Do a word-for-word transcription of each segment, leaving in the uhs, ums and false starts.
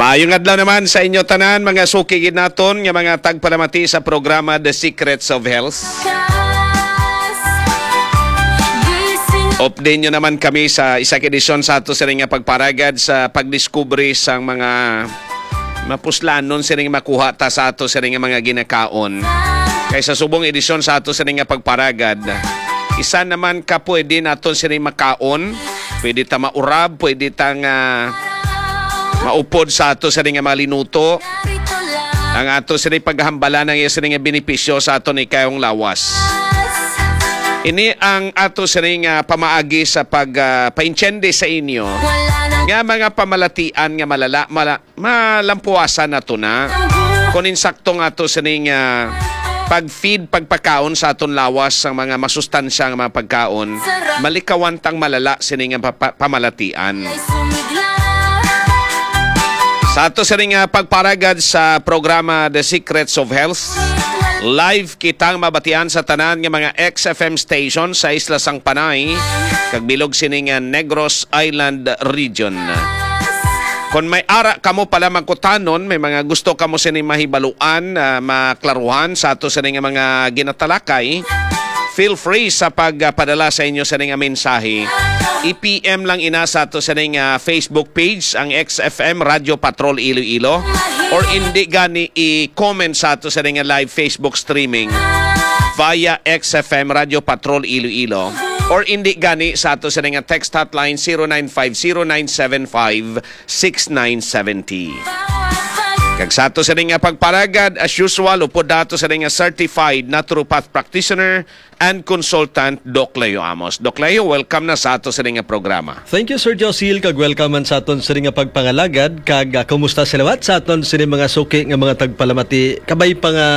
Ayong adlaw naman sa inyo tanan, mga suki gid naton nga mga tagpalamati sa programa The Secrets of Health. Update nyo naman kami sa isa ka edisyon sa ato sini nga pagparagad sa pagdiskubre sang mga mapuslanon sini nga makuha ta sa ato sini nga mga ginakaon. Kay sa subong edisyon sa ato sini nga pagparagad, isa naman ka pwede naton sini makaon, pwede ta maurab, pwede ta nga maupod sa ato sini nga mga linuto. Ang ato sini paghambalan ang iya sini nga benepisyo sa ato ni kayong lawas. Ini ang ato sini nga pamaagi sa pag ah, paintiende sa inyo nga mga pamalatian nga malala mala, malampuasan nato na. Kung insakto nga ato sini nga pag-feed, pagpakaon sa aton lawas sang mga masustansya nga mga pagkaon, malikawan tang malala sini nga papa- pamalatian. Sa ato sini nga pagparagad sa programa The Secrets of Health, live kitang mabatian sa tanan nga mga X F M station sa Isla sang Panay kag bilog sini nga Negros Island Region. Kon may ara kamo pala magkutanon, may mga gusto kamo sini mahibaluan, ah, maklaruhan sa ato sini nga mga ginatalakay, feel free sa pagpadala sa inyo sini nga mensahe. I-P M lang ina sa ato sini nga Facebook page, ang X F M Radyo Patrol Iloilo, or indi gani i-comment sa ato sini nga live Facebook streaming via X F M Radyo Patrol Iloilo, or indi gani sa ato sini nga text hotline zero nine five zero nine seven five six nine seventy. Kag sa ato sini nga pagparagad, as usual, upod nato sini nga certified naturopath practitioner and consultant, Doc Leo Amos. Doc Leo, welcome na sa ato sini nga programa. Thank you, Sir Josil, kag welcome man sa aton sini nga pagpangalagad. Kag, ah, kumusta sa liwat sa aton sini mga suki nga mga tagpalamati? Kabay pa nga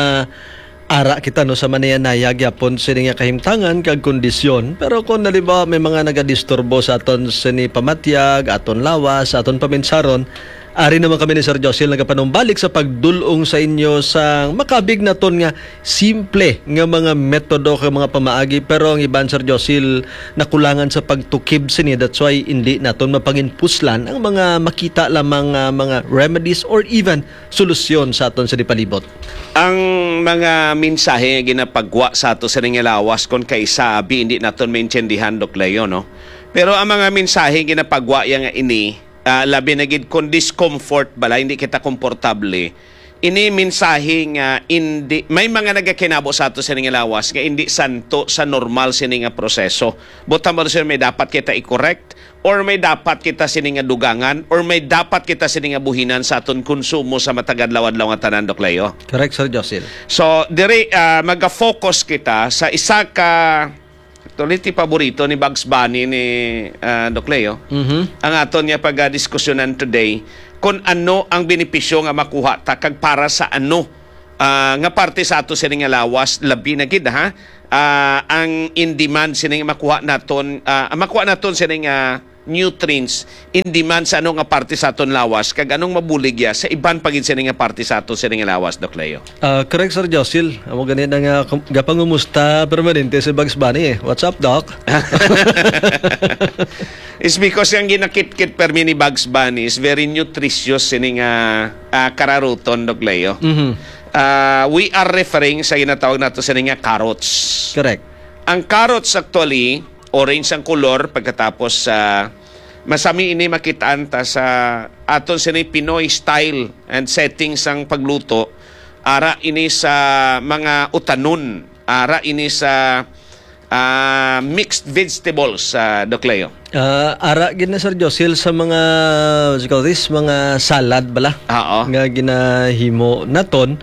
ara kita, no, sa manaya-naya gyapon sini nga kahimtangan kag kondisyon. Pero kung halimbawa may mga nagadisturbo sa aton sini pamatyag, aton lawas, sa aton paminsaron, ari naman kami ni Sir Josil nagapanumbalik sa pagdul-ong sa inyo sa makabig naton nga simple nga mga metodo kag mga pamaagi. Pero ang iban, Sir Josil, nakulangan sa pagtukib sini. That's why hindi naton mapanginpuslan ang mga makita lamang nga mga remedies or even solusyon sa aton sini palibot. Ang mga mensahe nga ginapagwa sa ato sini nga lawas, kon kaisa abi hindi naton maintindihan, Doc Leo, no? Pero ang mga mensahe ginapagwa ya nga ini, ah, labi na gid kon discomfort bala, hindi kita komportable. Ini mensahe nga hindi, may mga nagakinabo sa ato sini nga lawas nga hindi santo sa normal sini nga proseso. Buta mo, sir, may dapat kita i-correct, or may dapat kita sini nga dugangan, or may dapat kita sini nga buhinan sa aton konsumo sa matag adlaw-adlaw nga tanan, Doc Leo? Correct, Sir Josil. So, diri, ah, maga-focus kita sa isa ka, actually, ti paborito ni Bugs Bunny ni, ah, Doc Leo. Mhm. Ang aton nga pagdiskusyonan today, kung ano ang benepisyo nga makuha ta kag para sa ano, ah, nga parte sa ato sini nga lawas, labi na gid, ha? Ah, ang in demand sini nga makuha naton, ah, ang makuha naton sini nga nutrients in demand sa ano nga parte sa aton lawas, kag anong mabulig ya sa iban pa gid sini nga parte sa aton sini nga lawas, Doc Leo? Ah, correct, Sir Josil. Amo gani na nga kum-, gapangumusta permanente si Bugs Bunny, eh. What's up, Doc? It's because ang ginakitkit permi ni Bugs Bunny is very nutritious sini nga, ah, kararuton, Doc Leo. Mhm. Ah, we are referring sa ginatawag nato sini nga carrots. Correct. Ang carrots, actually, orange ang kolor, pagkatapos, ah, masami ini makitaan ta sa aton sini Pinoy style and setting sang pagluto. Ara ini sa mga utanon, ara ini sa, ah, mixed vegetables, ah, Doc Leo. Ah, ara gid na, Sir Josil, sa mga, what you call this, mga salad bala. Oo. Nga ginahimo naton.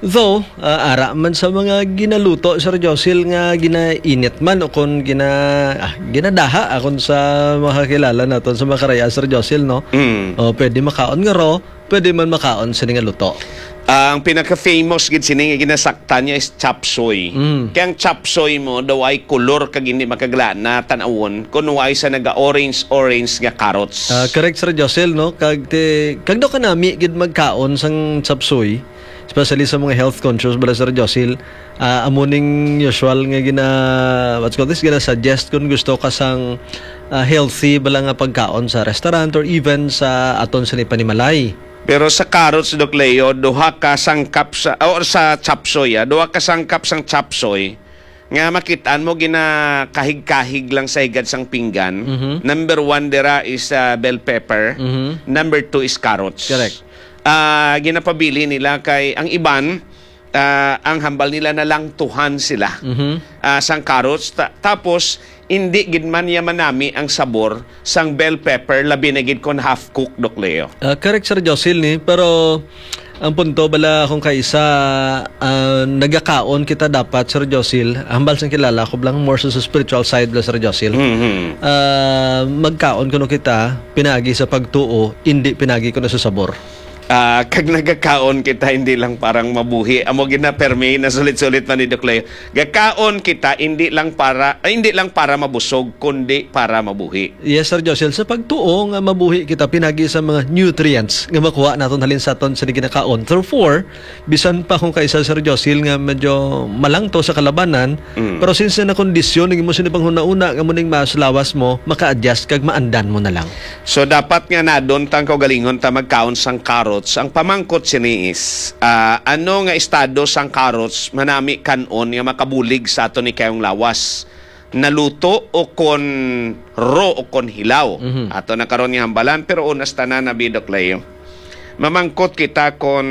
Though, ah, ara man sa mga ginaluto, Sir Josil, nga ginainit man o kon gina-, ah, ginadaha, akon sa makakilala naton sa mga karaya, Sir Josil, no? Mm. O, pwede makaon nga raw, pwede man makaon sini nga luto. Ang pinaka-famous gid sini nga ginasaktan niya is chop suey. Mm. Kaya ang chop suey mo, daw ay kulor kag hindi makaglana, tan-awon, kung why sa naga-orange-orange nga carrots. Ah, correct, Sir Josil, no? Kag ti-, kag daw kanami gid magkaon sang chop suey, especially sa mga health conscious bala, Sir Josil. Ah, amo ning usual nga gina-, what's called this, gina-suggest kung gusto ka sang, ah, healthy bala nga pagkaon sa restaurant or even sa aton sini panimalay. Pero sa carrots, Doc Leo, duha ka sangkap sa, or sa chop suey, ah, duha ka sangkap sang chop suey nga makitaan mo ginakahig-kahig lang sa higad sang pinggan. Mhm. Number one dira is, ah, bell pepper. Mhm. Number two is carrots. Correct. Ah, ginapabili nila kay ang iban, ah, ang hambal nila nalangtuhan sila, Mhm. ah, sang carrots. Ta-, tapos, hindi gid man niya manami ang sabor sang bell pepper, labi na gid kon half cook, Doc Leo. Ah, correct, Sir Josil, ni. Pero ang punto bala kung kaisa, ah, nagakaon kita dapat, Sir Josil, hambal sang kilala ko lang more sa, sa spiritual side bala, Sir Josil. Mhm. Ah, magkaon kuno kita pinagi sa pagtuo, hindi pinagi kuno sa sabor. Ah, kag nagakaon kita hindi lang parang mabuhi. Amo gid na, permi, nasulit-sulit man ni Doc Leo. Gakaon kita hindi lang para, ay, hindi lang para mabusog, kundi para mabuhi. Yes, Sir Josel. Sa pagtuo nga mabuhi kita pinagi sa mga nutrients nga makuha naton halin sa aton sa ginakaon. Therefore, bisan pa kung kaisa, Sir Josel, nga medyo malangto sa kalabanan, Mm. pero since na kondisyon, naging mo sini panghuna-una nga muning mas lawas mo, maka-adjust kag maandan mo na lang. So, dapat nga nadon tang kaugalingon ta magkaon sang carrots. Ang pamangkot sini is, ah, ano nga estado sang carrots manami kan-on nga makabulig sa aton ni kayong lawas? Naluto o kon raw o kon hilaw? Mhm. Ato na karon nga hambalan, pero unas tanan na, Bidok Leo. Mamangkot kita kon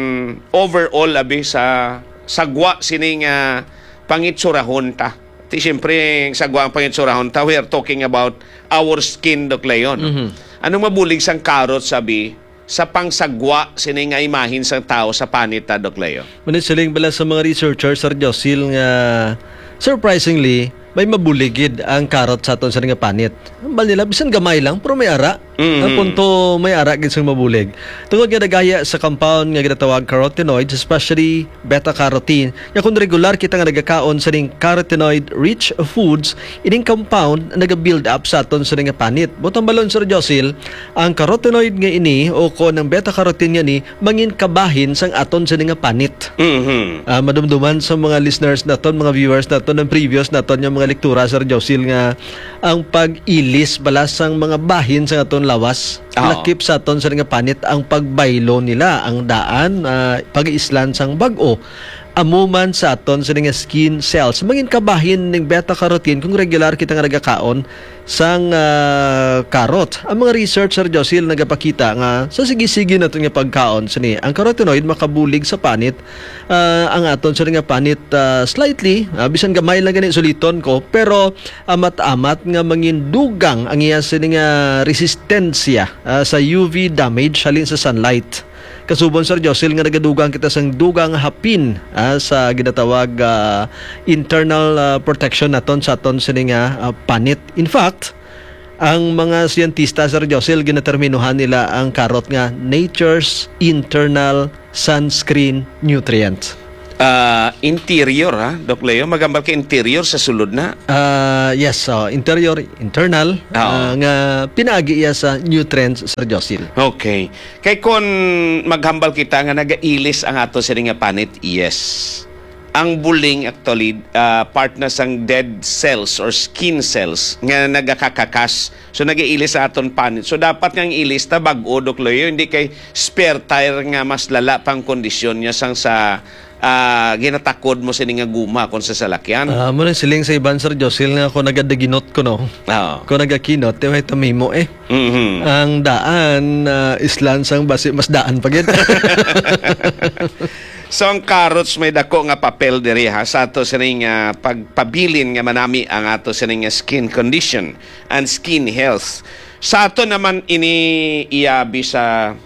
overall, abi, sa sagwa sini nga pangitsurahon ta. Ti, siyempre, sagwa ang pangitsurahon ta, we are talking about our skin, Doc Leon. Mhm. Anong mabulig sang karot, sabi, sa pangsagwa sini nga imahin sang tawo sa panit ta, Doc Leo? Manit siling bala sa mga researchers, Sir Josil, nga surprisingly, may mabulig gid ang karot sa aton sa nga panit. Ambal nila, bisan gamay lang, pero may ara. Mhm. Ang punto, may ara gid sang mabulig. Tungod nga nagaya sa compound nga ginatawag carotenoids, especially beta-carotene, nga kung regular kita nga nagakaon sa ning carotenoid-rich foods, ining compound naga-build up sa aton sa nga panit. Butang balon, Sir Josil, ang carotenoid nga ini o kon ang beta-carotene nga ni mangin kabahin sang aton sa nga panit. Mhm. Ah, madumduman sa mga listeners naton, mga viewers naton, ang previous naton nga mga lektura, Sir Josil, nga ang pag-ilis bala sang mga bahin sa aton lawas, Oo. lakip sa aton sa nga panit ang pagbaylo nila, ang daan, ah, pag-islan sang bag-o. Amo man sa aton sa nga skin cells. Mangin kabahin ning beta-carotene kung regular kita nga nagakaon sang, ah, karot. Ang mga research, Sir Josil, nagapakita nga sa sige-sige naton nga pagkaon sini, ang carotenoid makabulig sa panit, ah, ang aton sini nga panit, ah, slightly, ah, bisan gamay lang gani, suliton ko, pero amat-amat nga mangindugang ang iya sini nga resistensya, ah, sa U V damage halin sa sunlight. Kasubon, Sir Josil, nga nagadugang kita sang dugang hapin, ah, sa ginatawag, ah, internal, ah, protection naton sa aton sini nga, ah, panit. In fact, ang mga siyentista, Sir Josil, ginaterminuhan nila ang karot nga nature's internal sunscreen nutrient. Ah, interior, ha, Doc Leo? Magambal ka interior sa sulod na? Ah, yes, so interior, internal, Oo. ah, nga pinaagi iya sa nutrients, Sir Josil. Okay. Kay kon maghambal kita nga nagailis ang ato sini nga panit, yes. Ang buling actually, ah, part na sang dead cells or skin cells nga nagakakakas. So, nagailis sa aton panit. So, dapat nga ang ilis ta bag-o, Doc Leo, hindi kay spare tire nga mas lala pang kondisyon niya sang sa, ah, ginatakod mo sini nga guma kon sa salakyan. Ah, mo nang siling sa iban, Sir Josil, nga ako nagadaginot ko, no? Oo. Kung nagakinot, di ba ito mimo eh? Mhm. Ang daan, ah, islan sang basi, mas daan pa gid. So, ang carrots may dako nga papel diri, ha, sa ato sining, ah, pagpabilin nga manami ang ato sining, ah, skin condition and skin health. Sa ato naman ini iyabi sa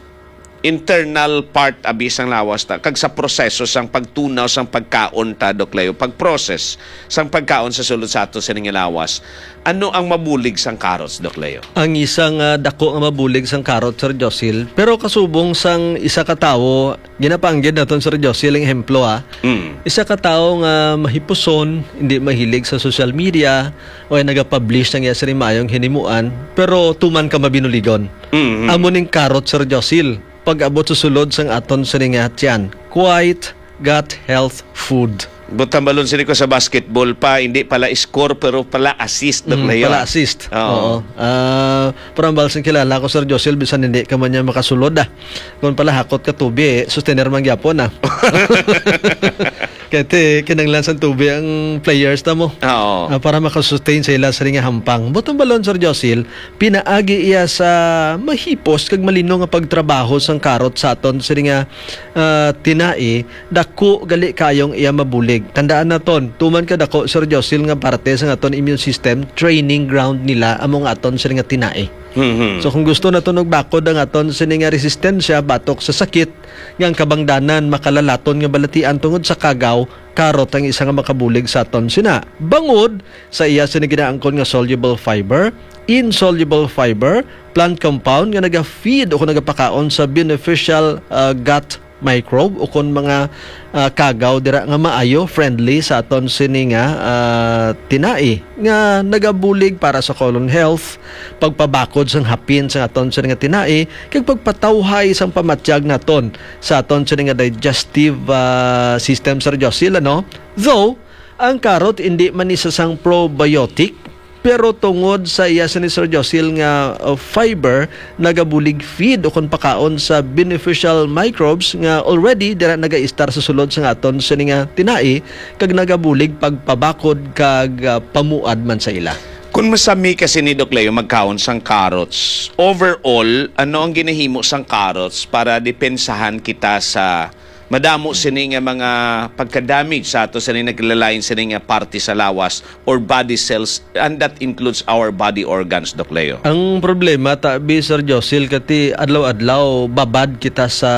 internal part abi sang lawas ta, kag sa proseso sang pagtunaw sang pagkaon ta, Doc Leo, pag-process sang pagkaon sa sulod sa ato sining lawas. Ano ang mabulig sang carrots, Doc Leo? Ang isa nga dako nga mabulig sang carrot, Sir Josil, pero kasubong sang isa ka tawo, ginapanggid naton, Sir Josil, ang ehemplo, ha. Mm. Isa ka tawo nga mahipuson, hindi mahilig sa social media, o ay nagapublish sang iya sini maayong hinimuan, pero tuman ka mabinuligon. Mm. Amo ning carrot, Sir Josil, pag-abot sa sulod sang aton sini nga tiyan. Quite gut health food. Butang balon sini ko sa basketball pa, hindi pala score, pero pala assist, Doc Mm, Leo, pala ah. assist. Oo. Oo. Ah, pero ang balsing kilala ko, Sir Josel, bisan hindi ka man niya makasulod, ah. Kung pala hakot ka tubi, eh, sustainer man gyapon, ah. Kaya ti, kinanglan sa tubi ang players na mo. Oo. Ah, para makasustain sa ila sa ring hampang. Butang balon, Sir Josil, pinaagi iya sa mahipos kag malino nga pagtrabaho sang karot sa aton sa ring, ah, tinai, dako gali kayong iya mabulig. Tandaan naton, tuman ka dako, Sir Josil, nga parte sa aton immune system, training ground nila amo nga aton sini nga tinai. Mhm. So, kung gusto naton magbakod ang aton sini nga resistensya batok sa sakit, nga ang kabangdanan makalalaton nga balatian tungod sa kagaw, karot ang isa nga makabulig sa aton sina. Bangod sa iya sini ginaangkon nga soluble fiber, insoluble fiber, plant compound nga naga-feed o kung nagapakaon sa beneficial, ah, gut microbe o kon mga, ah, kagaw dira nga maayo, friendly sa aton sini nga, ah, tinai nga nagabulig para sa colon health, pagpabakod sang hapin sang aton sini nga tinai, kag pagpatawhay sang pamatyag naton sa aton sini nga digestive, ah, system, Sir Josil, ano? Though, ang karot indi man isa sang probiotic, pero tungod sa iya sini, Sir Josil, nga, uh, fiber, nagabulig feed o kon pakaon sa beneficial microbes nga already dira nagaistar sa sulod sa aton sini nga tinai, kag nagabulig pagpabakod kag, uh, pamuad man sa ila. Kung masami ka sini, Doc Leo, magkaon sang carrots, overall, ano ang ginahimo sang carrots para depensahan kita sa madamo sini nga mga pagka-damage sa ato sini naglalain sini nga parte sa lawas or body cells, and that includes our body organs, Doc Leo. Ang problema, tabi, Sir Josil, kati adlaw-adlaw babad kita sa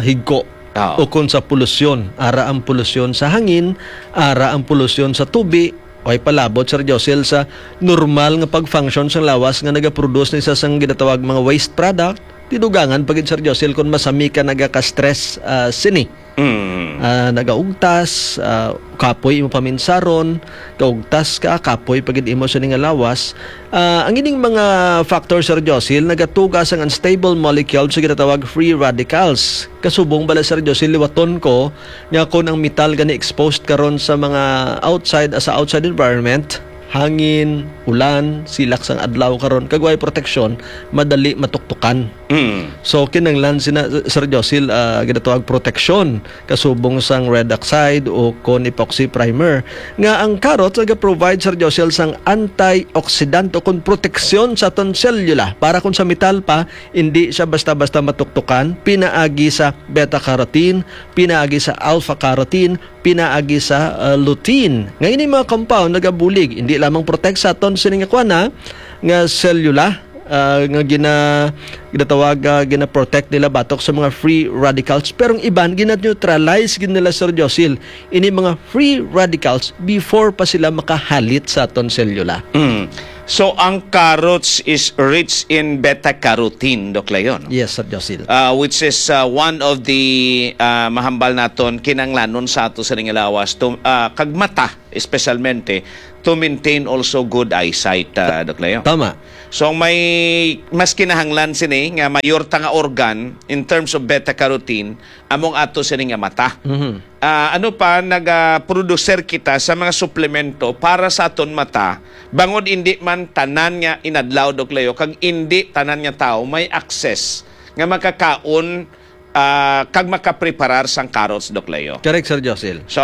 higko Ah. ukon sa polusyon. Ara ang polusyon sa hangin, ara ang polusyon sa tubi, way palabot, Sir Josil, sa normal nga pag-function sang lawas nga nagaproduce ni sa sang ginatawag mga waste product. Tidugangan pa gid, Sir Josil, kung masami ka nagaka-stress, ah, sini. Mm. Ah, nagaugtas, ah, kapoy imo paminsaron, gaugtas ka, kapoy pa gid imo sini nga lawas. Ah, ang ining mga factor, Sir Josil, nagatuga sang unstable molecule sa ginatawag free radicals. Kasubong bala, Sir Josil, liwaton ko nga kon ang metal gani exposed karon sa mga outside, sa outside environment, hangin, ulan, silak sang adlaw karon, kag way proteksyon, madali matuktukan. Mm. So, kinahanglan sina, Sir Josil, ah, ginatawag proteksyon, kasubong sang red oxide o kon epoxy primer, nga ang carrot naga-provide, Sir Josil, sang antioxidant o kon proteksyon sa aton selula. Para kung sa metal pa, hindi siya basta-basta matuktukan, pinaagi sa beta-carotene, pinaagi sa alpha-carotene, pinaagi sa, ah, lutein. Nga ini mga compound nagabulig, hindi lamang protect sa aton sini nga kuan, ha, nga selula, ah, nga gina-, ginatawag, ah, gina-protect nila batok sa mga free radicals, pero ang iban gina-neutralize gid nila, Sir Josil, ini mga free radicals before pa sila makahalit sa aton selula. Mm. So, ang carrots is rich in beta-carotene, Doc Leo, no? Yes, Sir Josil. Ah, which is, ah, one of the, ah, mahambal naton kinanglanon sa ato sa ning lawas to, ah, kag mata, espesyalmente, to maintain also good eyesight, ah, Doc Leo. Tama. So, ang may mas kinahanglan sini nga mayor ta nga organ in terms of beta-carotene, among ato sini nga mata. Mhm. Ah, ano pa, naga-producer kita sa mga suplemento para sa aton mata, bangod indi man tanan nga inadlaw, Doc Leo, kag indi tanan nga tawo may access nga makakaon, ah, kag makapreparar sang carrots, Doc Leo. Correct, Sir Josil. So,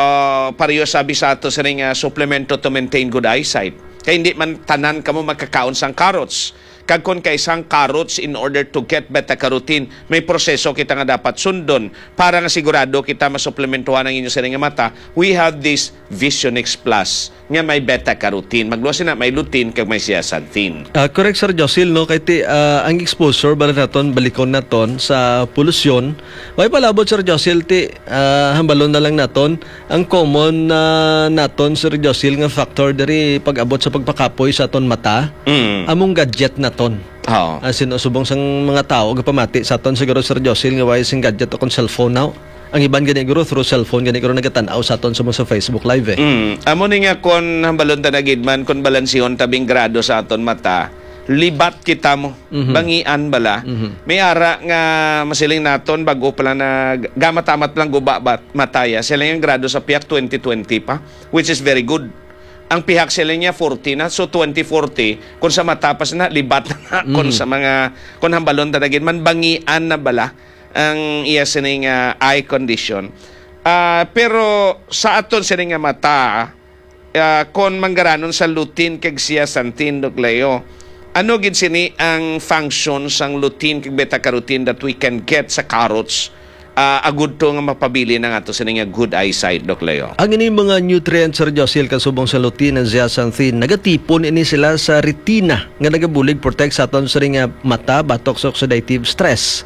pareho sabi sa ato sini nga suplemento to maintain good eyesight. Kay hindi man tanan kamo makakaon sang carrots. Kag kon kay sang carrots, in order to get beta-carotene, may proseso kita nga dapat sundon para nga sigurado kita masuplementuhan ang inyo sini nga mata. We have this Vision X Plus nga may beta-carotene. Magluwas na, may lutein kag may zeaxanthin. Ah, correct, Sir Josil, no? Kay ti, ah, ang exposure, bala naton, balikon naton sa polusyon. May palabot, Sir Josil, ti, ah, hambalon na lang naton. Ang common, ah, naton, Sir Josil, nga factor diri pag-abot sa pagpakapoy sa aton mata, Mm. among gadget naton. Oo. As in, subong sang mga tawo, gapamati sa aton siguro, Sir Josil, nga way sing gadget o kon cellphone now. Ang iban gani guro through cellphone gani guro nagatan-aw sa aton sa mga sa Facebook Live, eh. Mm. Amo ni nga kon hambalon ta na gid man, kon balansihon ta bing grado sa aton mata, libat kita mo, Mhm. bangian bala. Mhm. May ara nga masiling naton, bago pa lang na gamatamat lang guba bat-, mataya. Sila yung grado sa piyak twenty twenty pa, which is very good. Ang pihak sila niya forty na, so twenty forty, kung sa matapas na, libat na, kung Mhm. sa mga, kung hambalon ta na gid man, bangian na bala ang iya sini nga eye condition. Ah, pero sa aton sini nga mata, ah, kon manggaranon sa lutein kag zeaxanthin, Doc Leo, ano gid sini ang function sang lutein kag beta carotene that we can get sa carrots, ah, agud to nga mapabilin ang ato sini nga good eyesight, Doc Leo? Ang ini mga nutrients, Sir Josil, kasubong sa lutein and zeaxanthin, nagatipon ini sila sa retina nga nagabulig protect sa aton sini nga mata batok sa oxidative stress.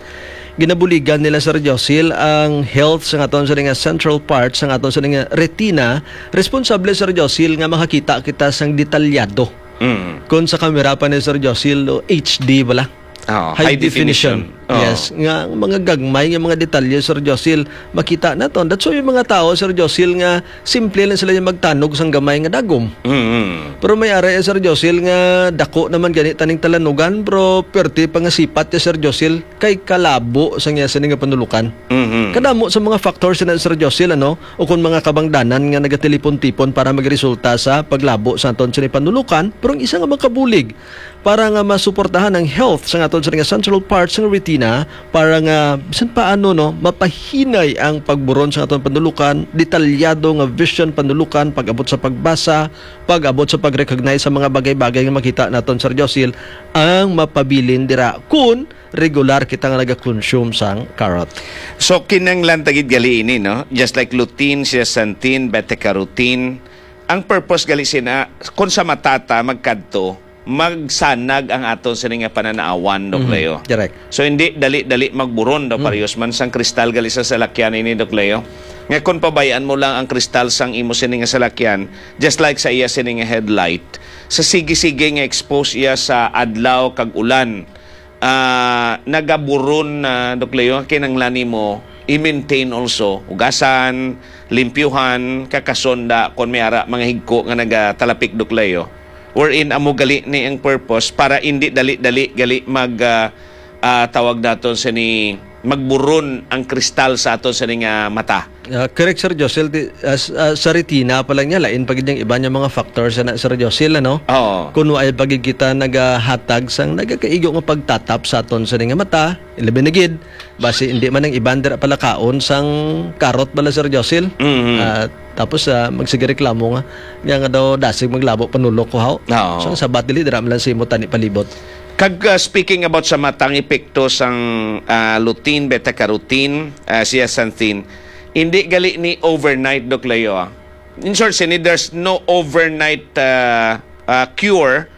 Ginabuligan nila, Sir Josil, ang health sa aton sini nga central part sa aton sini nga retina. Responsable, Sir Josil, nga makakita kita sang detalyado. Mm. Kung sa kamera pa ni Sir Josil, o H D bala. Oo, High high definition. definition. Oo. Yes, nga ang mga gagmay nga mga detalye, Sir Josil, makita naton. That's why yung mga tao, Sir Josil, nga simple lang sila yung magtanog sang gamay nga dagom. Mm. Pero may ara ya, Sir Josil, nga dako naman gani taning talanugan, pero perti pa nga sipat ya, Sir Josil, kay kalabo sa iya sini nga panulukan. Mhm. Kadamo sa mga factors na, Sir Josil, ano, o kung mga kabangdanan nga nagatelipon-tipon para magresulta sa paglabo sa aton sini panulukan, pero ang isa nga makabulig para nga masuportahan ang health sa aton sini nga central parts sa retina, para nga bisan paano, no, mapahinay ang pagburon sa aton panulukan, detalyado nga vision panulukan, pag-abot sa pagbasa, pag-abot sa pag-recognize sa mga bagay-bagay nga makita naton, Sir Josil, ang mapabilin dira kun regular kita nga naga-consume sang carrot. So, kinahanglan ta gid gali ini, no? Just like lutein, zeaxanthin, beta-carotene, ang purpose gali sina, kung sa mata ta magkadto, magsanag ang aton sini nga pananawan, Doc Mhm. Leo. Correct. So, hindi dali-dali magburon daw, Mm. parehas man sang kristal gali sa salakyan ini, Doc Leo. Nga kung pabayaan mo lang ang kristal sang imo sini nga salakyan, just like sa iya sini nga headlight, sa sige-sige nga expose iya sa adlaw kag ulan, ah, nagaburon na, Doc Leo, kinahanglan nimo i-maintain also. Hugasan, limpyuhan, kakasonda, kung may ara, mga higko nga nagatalapik, Doc Leo. Wherein, amo gali ni ang purpose para hindi dali-dali gali mag, ah, ah, tawag naton sini, magburon ang kristal sa aton sini nga mata. Ah, correct, Sir Josel. Di, ah, s-, ah, sa retina pa lang niya, lain pa gid yung iba niya mga factors na, Sir Josel, ano? Oo. Kung waay pa gid kita nagahatag sang nagakaigo nga pagtatap sa aton sini nga mata, ilabi na gid, basi hindi man ang iban dira palakaon sang karot bala, Sir Josel. Mhm. Ah, tapos, ah, magsige reklamo nga, nga, nga daw dasig maglabo panulok ko, haw? Oo. So, ang sabat dili, dira man lang sa imo tani palibot. Kag, ah, speaking about sa mata, ang epekto sang, ah, lutein, beta-carotene, ah, zeaxanthin, hindi gali ni overnight, Doc Leo, ah. In short, sini, there's no overnight, ah, ah, cure,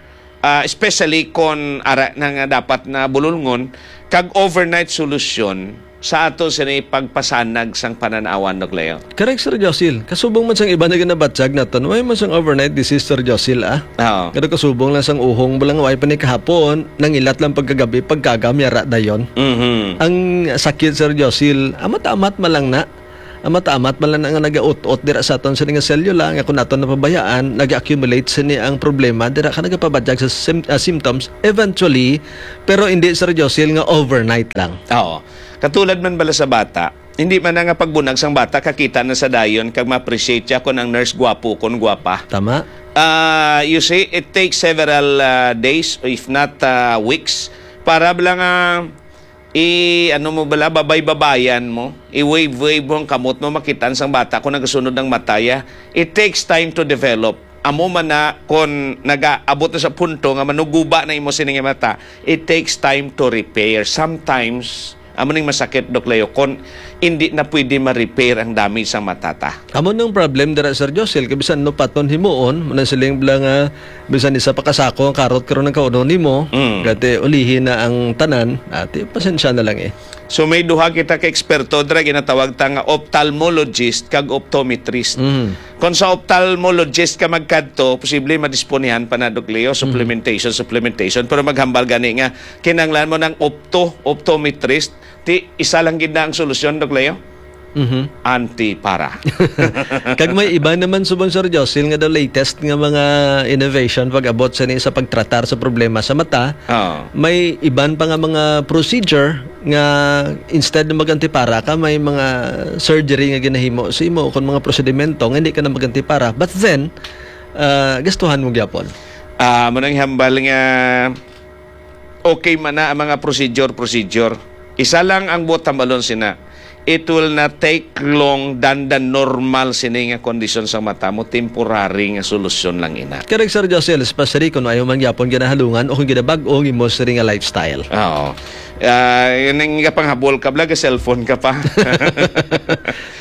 ah, especially kon ara na nga dapat na bululngon, kag overnight solution sa ato sini pagpasanag sang pananawan, Doc Leo. Correct, Sir Josil. Kasubong man sang iba nga ginabatyag naton, way man sang overnight disease, Sir Josil, ah. Oo. Pero kasubong lang sang uhong, bala nga way pa ni kahapon, nangilat lang pagkagabi, pagkaga, miyara dayon. Mhm. Ang sakit, Sir Josil, amat-amat man lang na. Amat-amat man lang na nga nagaut-ot dira sa aton sini nga selula, nga kung naton napabayaan, nag-accumulate sini ang problema, dira ka nagapabatyag sa sym-, ah, symptoms, eventually, pero hindi, Sir Josil, nga overnight lang. Oo. Katulad man bala sa bata, hindi man na nga pagbunag sang bata, kakita na sa dayon, kag ma-appreciate siya kung ang nurse gwapo, kung gwapa. Tama. Ah, you see, it takes several, ah, days, if not, ah, weeks, para bala nga i-, ano mo bala, babay-babayan mo, i-wave-wave mo ang kamot mo, makitaan sang bata kung nagasunod ang mata ya. It takes time to develop. Amo man na, kung nagaabot na sa punto nga manuguba na imo sini nga mata, it takes time to repair. Sometimes, amo ning masakit, Doc Leo, kung hindi na pwede ma-repair ang damage sang mata ta. Amo nang problem dira, Sir Josel, kay bisan no paton himuon, mo na siling bala nga, bisan isa pa ka sako ang karot karon ang kaunon nimo, Mm. gati ulihi na ang tanan, ati, pasensya na lang eh. So, may duha kita ka eksperto dira, ginatawag ta nga ophthalmologist kag optometrist. Mm. Kung sa ophthalmologist ka magkadto, posible madisponihan pa na, Doc Leo, Mm. supplementation, supplementation. Pero maghambal gani nga, kinahanglan mo ng opto, optometrist, ti isa lang gid na ang solusyon, Doc Leo? Mhm. Anti-para. Kag may iba naman subong, Sir Josil, nga the latest nga mga innovation pag-abot sa ni sa pagtratar sa problema sa mata. Oo. May iban pa nga mga procedure nga instead na mag-antipara ka, may mga surgery nga ginahimo sa imo, kung mga prosedimento nga hindi ka na mag-antipara. But then, ah, gastuhan mo gyapon. Ah, mo nang hambal nga okay man na ang mga procedure, procedure. Isa lang ang buot hambalon sina. It will not take long than the normal sini nga kondisyon sa mata mo. Temporary nga solusyon lang ina. Correct, Sir Josel, especially kung ayaw man gyapon ginahalungan o kung ginabag-o ang imo sini nga lifestyle. Oo. Ah, yun ang panghabol ka, vlog, cellphone ka pa.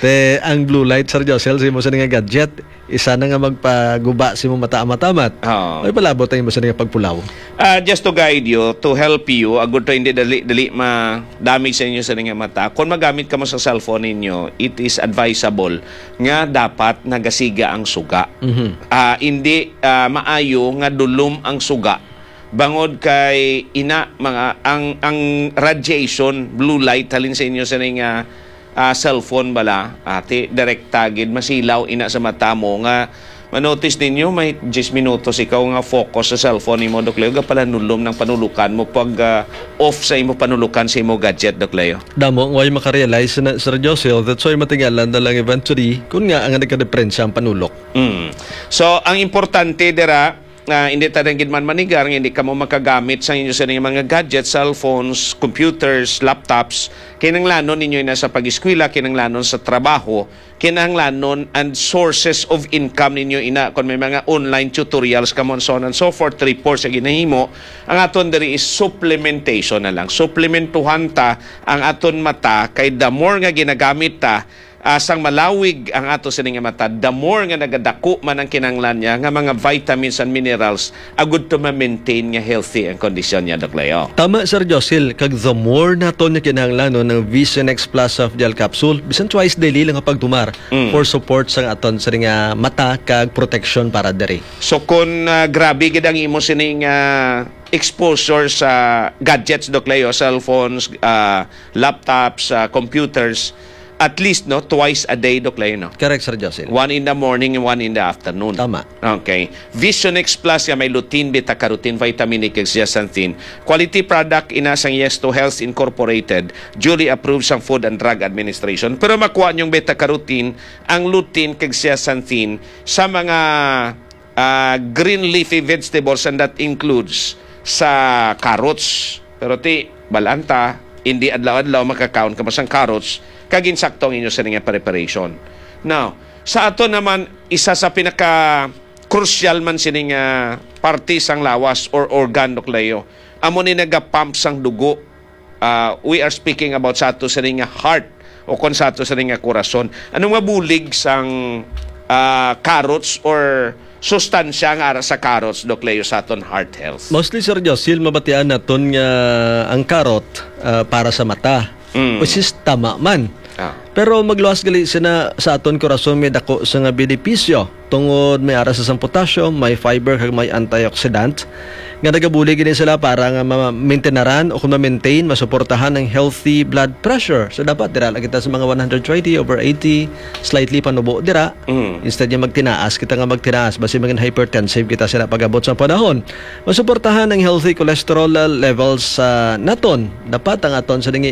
Te, ang blue light, Sir Josel, sa imo sini nga gadget, isa na nga magpaguba sa imo mata, matamat. Oo. May palabot ang imo sini nga pagpulaw. Ah, just to guide you, to help you, agud to hindi dali, dali ma-damage sa inyo sini nga mata. Kung magamit ka mo sa cellphone ninyo, it is advisable nga dapat nagasiga ang suga. Mhm. Ah, hindi, ah, maayo nga dulom ang suga. Bangod kay ina, mga, ang, ang radiation, blue light, halin sa inyo sini nga, ah, cellphone bala, ati, direkta gid, masilaw ina sa mata mo nga manotice ninyo, may diyes minutos ikaw nga focus sa cellphone nimo, Doc Leo, gapalanulom ng panulukan mo pag, ah, off sa imo panulukan sa imo gadget, Doc Leo. Damo, way makarealize na, Sir Josel, that's why matingalan na lang eventually kung nga ang nagkadiperensya ang panulok. Mm. So, ang importante dira, ah, hindi ta lang gid man manigar nga hindi kamo makagamit sa inyo sini nga mga gadgets, cellphones, computers, laptops. Kinahanglanon ninyo ina sa pag-eskwela, kinahanglanon sa trabaho, kinahanglanon and sources of income ninyo ina. Kung may mga online tutorials kamo, and so on and so forth, reports nga ginahimo, ang aton diri is supplementation na lang. Supplementuhan ta ang aton mata, kay the more nga ginagamit ta, ah, sang malawig ang ato sini nga mata, the more nga nagadako man ang kinahanglan niya nga mga vitamins and minerals agud to ma-maintain nga healthy ang kondisyon niya, Doc Leo. Tama, Sir Josil, kag the more naton nga kinahanglanon ang Vision X Plus Soft Gel Capsule, bisan twice daily lang ang pagtumar Mm. for support sang aton sini nga mata kag protection para diri. So kung, ah, grabe gid ang imo sini nga exposure sa gadgets, Doc Leo, cellphones, ah, laptops, ah, computers, at least, no, twice a day, Doc Leo, no? Correct, Sir Jocelyn. One in the morning and one in the afternoon. Tama. Okay. Vision X Plus nga may lutein, beta-carotene, vitamin E, kag zeaxanthin. Quality product ina sang Yes to Health Incorporated, duly approved sang Food and Drug Administration. Pero makuha niyong beta-carotene, ang lutein, kag zeaxanthin sa mga ah, green leafy vegetables, and that includes sa carrots. Pero ti, bal-an ta, hindi adlaw-adlaw makakaon ka sang carrots, kag insakto ang inyo sini nga preparation. Now, sa ato naman, isa sa pinaka-crucial man sini nga parte sang lawas or organ, Doc Leo, amo ni nagapump sang dugo. Ah, we are speaking about sa ato sini nga heart o kon sa ato sini nga korason. Ano nga bulig sang, ah, carrots or sustansya nga ara sa carrots, Doc Leo, sa aton heart health? Mostly, Sir Josil, mabatian naton nga ang carrot, ah, para sa mata. Mm. Which is tama man. Ah. Pero magluwas gali sina sa aton korason may dako sa nga benepisyo. Tungod may ara sa sang potassium, may fiber, kag may antioxidant, nga nagabulig gini sila para nga ma-, maintenaran o kung ma-maintain, masuportahan ang healthy blood pressure. So, dapat dira lang kita sa mga one hundred twenty over eighty, slightly panubo dira. Mm. Instead nga magtinaas kita nga magtinaas, basi maging hypertensive kita sila pag-abot sa panahon. Masuportahan ang healthy cholesterol levels sa naton. Dapat ang aton sa dingi